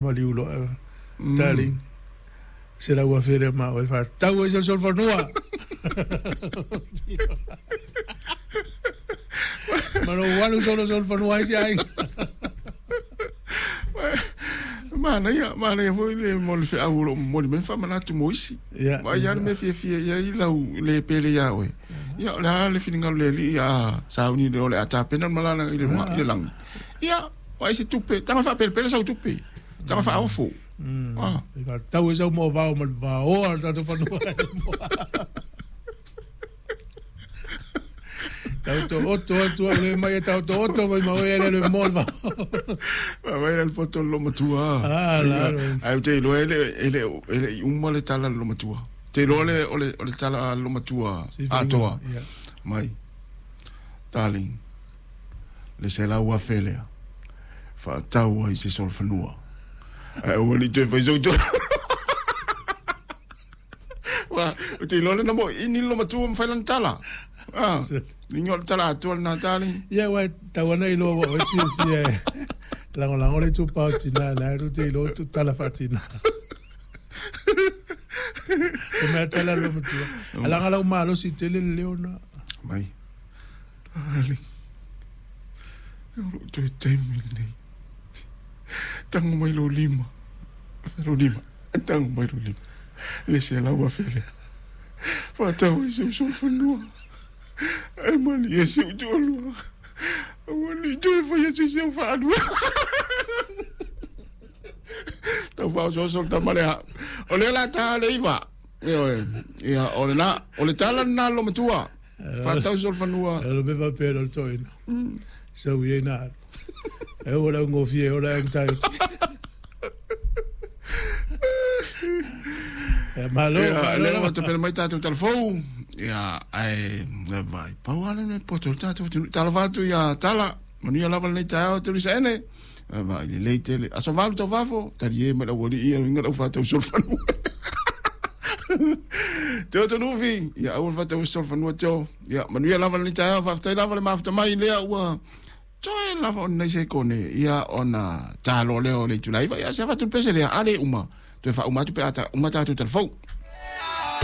Maliu loa, darling, $100,000 lea ma oe faatau ai se solofanua. Ma lou alu solo solofanua ai se aiga. Manaia, manaia foi le mo le feau o lo o momoli mai faamanatu mo isi. Ma ai lava le mea fiafia i ai lau le pele ia oe. Ia, o le a le finagalo o le Alii a sauni le o le a tapena le malala i le i le lagi. Ia, vaai se tupe, taga faapelepele sau tupe, taga faaofo. Ah. E faatau ai sau moavao ma le vaoa o le tatou fanua. Tau to oto atu au le mai e tau to oto mai ma oe le le mo le vao. Vai le poto lo matua. Ah, la. Ai te iloa ele ele ele i uma le tala lo matua. Te iloa le o le o le tala lo matua atoa. Mai. Darling. Le $100,000 lea. Faatau ai se solofanua. Ae aua ne i toe fai sou tonu. Ua, ou te iloa lena mo ini lo matua ma fai lana tala. Ah, inga o le tala atoa lena darling. Ia, uai, tau ana iloa ua oe fiafia e lagolago le itupa o tina, la e tu te iloa tu tala faatina. O mea tala lo matua. Alaga lau malosi tele le leo na. Mai. Darling. E o lou toe taimi lenei. Tago mai lou lima. Lou lima. Tago mai lou lima. Le $100,000 lea. Faatau ai si ou solofanua. Ae malie si ou toalua. Aua ne i toe faia se isi au faalua. Tau faaosooso le tama lea. O lea la ta le iva. Ioe. Ia, o lena, o le tala lena a le matua. Faatau solofanua. O le mea faapea le toeaina. Sau i ai na alu. E ua lau gofie o le anxiety. Ia, malo, Ia, malo. lea ua tapena mai tatou talafou. Ia, ae, vai, pau lava le mea poto o le tatou atunuu. Talofa atu ia Tala, manuia lava lenei taeao Tulisa ene. Vai, lelei tele. Aso 8 tau fafo, talie mai le aualii ia luiga lau faatau solofanua. Teo Tonufi, ia aua le faatau solofanua Teo. Ia, manuia lava lenei taeao, faafetai lava le mafuta mai lea ua toe lava o lenei sekone, ia ona talo lea o le itula 9, ia se avatu le pese lea, a le uma, toe faauma atu pe a uma tatou talafou.